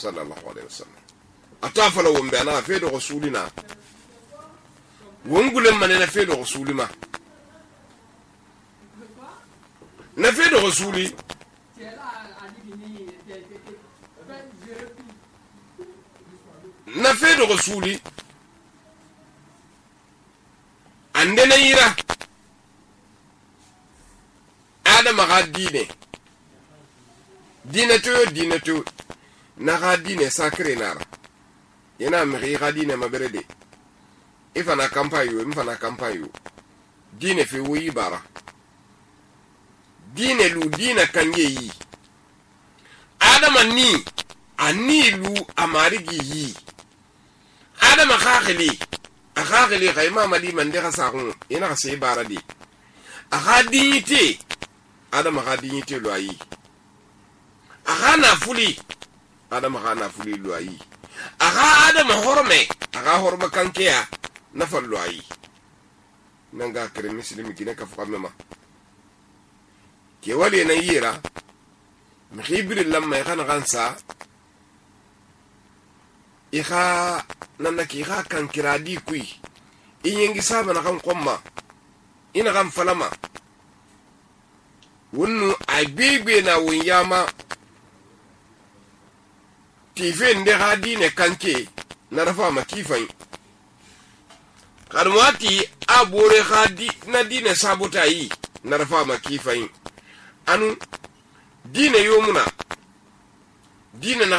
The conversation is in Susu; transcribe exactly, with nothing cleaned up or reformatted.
sallallahu alaihi wasallam atafala wombe ana fe do rasulina wongulen man na fe do rasulima na fe do rasuli na fe do rasuli ande na yira adama ga dine dine to dine to na ga dine sacré nara yana mi ga dine maberede ifana kampayo ifana kampayo dine fe wuyi bara dine lu dine kanye yi adama ni ani lu amarigi yi adama khakhili akhakhili khayma mali man de khasaqun ina khase bara di akha dignité adama kha dignité lo ayi akha na fuli adama kha na fuli lo ayi akha adama horme akha horma kankeya na fallo ayi nanga kare muslimi kina ka fuka mema ke wali na yira mkhibri lamma yakhana gansa ikha nanaki kha kan kiradi kui iyengi saba na kan komma ina kan falama wonnu agbegbe na wonyama tife nde hadine kanke na rafa makifan karwati abore hadi na dine sabota yi na rafa makifan anu dine yomuna dine na